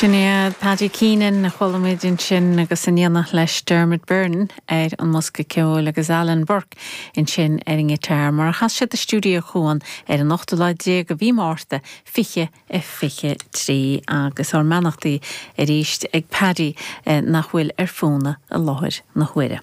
Sin iad Paddy Keenan a chuala muid ansin agus in éineacht leis Dermot Byrne ar an mbosca ceoil agus Alan Burke ansin ar an ngiotár mar a chas siad i Stiúideo Chuan ar an ochtú lá déag de mhí Márta 2023 agus ár mbeannachtaí arís ag Paddy nach bhfuil ar fónamh i láthair na huaire.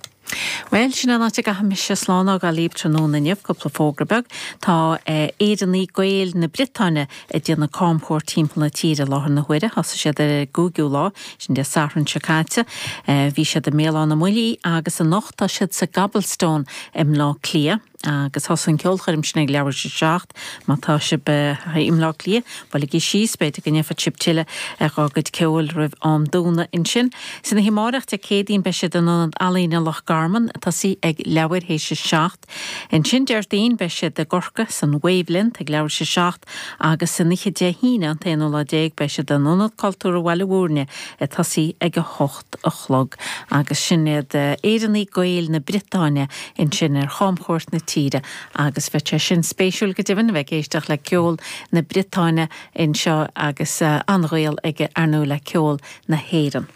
Bhuel, sin an áit a gcaithfidh mise slán a fhágáil libh tráthnóna inniu. Cúpla fógra beag. Tá Éireannaigh Gaeil na Briotáine ag déanamh camchuairt timpeall na tíre i láthair na huaire. Thosaigh siad ar an gcúigiú lá, sin Dé Sathairn seo caite. Bhí siad i mBéal Átha na mBuillí agus anocht tá siad sa gCobblestone i mBleá Cliath. Agus thosaigh an ceolchoirm sin ag leathuair tar éis a 7. Má tá sibh i mBleá Cliath, buailigí síos, b'fhéidir go ndéanfadh sibh tuilleadh dhá gcuid ceoil roimh am dúnadh ansin. San oíche amárach, Dé Céadaoin, beidh siad in Ionad Ealaíne Loch Garman, ag tosaí ag leathuair théis a 7. Ansin Déardaoin, beidh siad i gCorcaigh, san Wavelength, ag leathuair théis a 7 agus san oíche Dé hAoine, an t-aonú lá déag, beidh siad in Ionad Cultúrtha Bhaile Bhúirne, ag tosaí ag 8 a chlog. Agus sin iad Éireannaigh Gaeil na Briotáine ansin ar chamchuairt na tíre agus bheadh sé sin spéisiúil go deimhin a bheith ag éisteacht le ceol na Briotáine anseo agus an-ghaol aige ar ndóigh le ceol na hÉireann.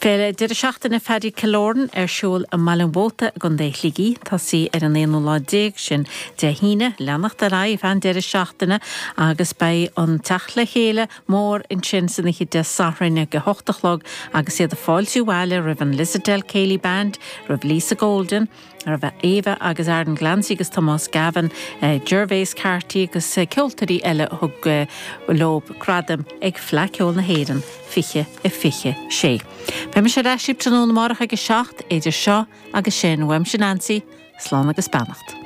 Féile deireadh seachtaine Phaddy Killoran ar siúl i mBaile an Mhóta i gContae Shligigh. Tosaí ar an aonú lá déag, sin Dé hAoine, leanacht ar aghaidh ar feadh an deireadh seachtaine agus beidh an teacht le chéile mór ansin san oíche Dé Sathairn ag a hocht a chlog agus iad ag fáiltiú abhaile roimh an Lissadell Céilí Band, roimh Lisa Golden, roimh Eva agus Aaron Glancy agus Tomás Gavin, Gervase Carty agus ceoltóirí eile a thug leo gradaim ag Fleadh Cheoil na hÉireann 2026. Beidh mise ar ais libh tráthnóna amárach ag a 7, idir seo agus sin, uaimse Nancy, slán agus beannacht.